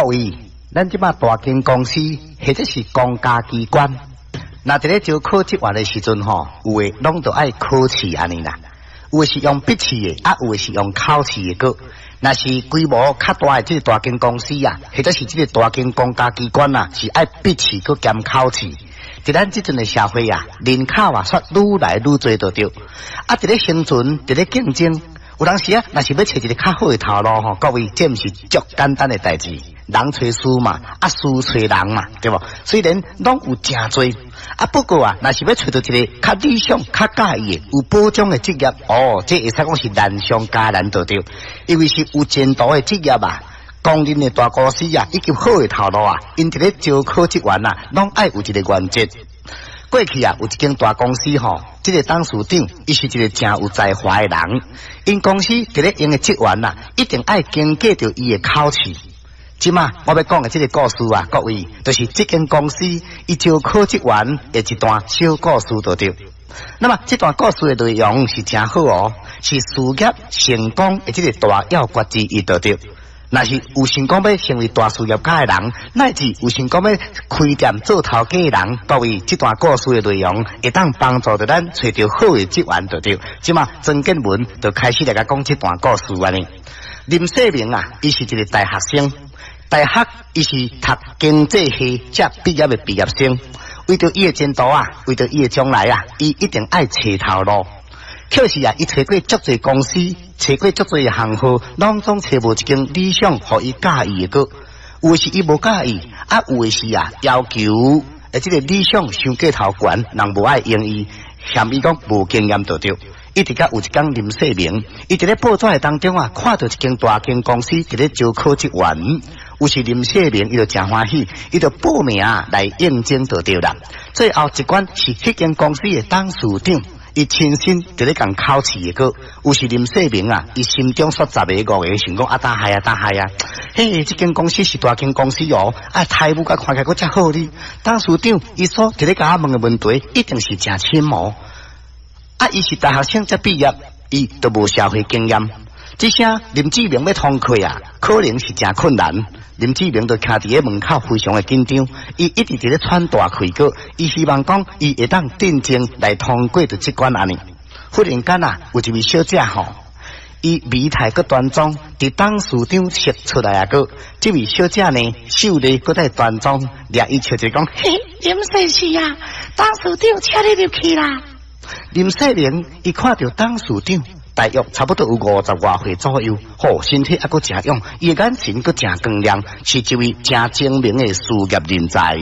各位，咱這馬大間公司或者是公家機關，若佇咧招考職員的時陣吼，有的攏著愛考試按呢啦。有的是用筆試的，啊，有的是用口試的閣。若是規模較大的這個大間公司啊，或者是這個大間公家機關啊，是愛筆試閣兼口試。佇咱這陣的社會啊，人口啊，煞愈來愈濟就對。啊，佇咧生存，佇咧競爭，有當時啊，若是欲揣一个較好的頭路吼，各位，這毋是足簡單的代誌。人揣事嘛，啊事揣人嘛，對無？雖然攏有誠濟，啊不過啊，若是欲揣著一个較理想、較佮意的、有保障的職業，哦，這會使講是難上加難就對。因為是有前途的職業啊，公認的大公司啊，以及好的頭路啊，𪜶佇咧招考職員啊，攏愛有一个原則。過去啊，有一間大公司吼，這个董事長伊是一个誠有才華的人，𪜶公司佇咧用的職員啊，一定愛經過著伊的考試。這馬我欲講的這个故事啊，各位，就是這間公司伊招考職員的一段小故事就對。那麼這段故事的內容是誠好哦，是事業成功的這个大要訣之一就對。若是有想講欲成為大事業家的人，乃至有想講欲開店做頭家的人，各位，這段故事的內容會當幫助著咱揣著好的職員就對。這馬曾建文就開始來共講這段故事按呢。林世明啊，伊是一个大學生，大學伊是讀經濟系才畢業的畢業生。為著伊的前途啊，為著伊的將來啊，伊一定愛揣頭路。可是啊，伊揣過足濟公司，揣過足濟行號，攏總揣無一間理想，予伊佮意的閣。有的是伊無佮意，啊，有的是啊，要求的這个理想傷過頭懸，人無愛用伊，嫌伊講無經驗就對。一直到有一工林世明，伊佇咧報紙的當中啊，看著一間大間公司佇咧招考職員，於是林世明伊就誠歡喜，伊就報名來應徵就對啦。最後一關是彼間公司的董事長，伊親身佇咧共考試的閣。於是林世明啊，伊心中煞十个五个想講啊，打害啊，打害啊！嘿，這間公司是大間公司哦，啊，待遇佮看起來閣遮好哩。董事長伊所佇咧共我問的問題，一定是誠深哦。啊！伊是大學生才畢業，伊都無社會經驗。這聲林志明欲通過啊，可能是誠困難。林志明就徛佇咧門口，非常的緊張。伊一直佇咧喘大氣閣，伊希望講伊會當鎮靜來通過著這關按呢。忽然間啊，有一位小姐吼，伊儀態閣端莊，佇董事長室出來啊閣。這位小姐呢，秀麗閣帶端莊，掠伊笑一講：嘿，林先生啊，董事長請你入去啦。林世明伊看著董事長，大約差不多有五十外歲左右，吼，身體猶閣誠勇，伊的眼神閣誠光亮，是一位誠精明的事業人才。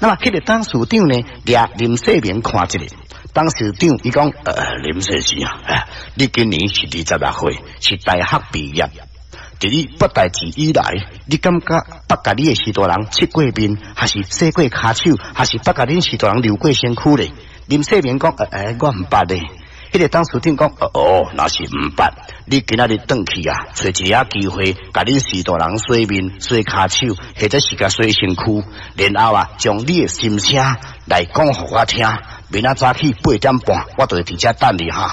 那麼，彼个董事長呢，掠林世明看一下，董事長伊講：林先生啊，你今年是26歲，是大學畢業。佇你捌代誌以來，你感覺捌共你的序大人切過面，還是洗過跤手，還是捌共恁序大人溜過身軀咧？林世明講：我毋捌咧。彼个董事長講：哦，若是毋捌，你今仔日轉去啊，揣一下機會，共恁序大人洗面、洗跤手，或者是共洗身軀，然後啊，將你的心聲來講予我聽。明仔早起8點半，我就會佇遮等你哈。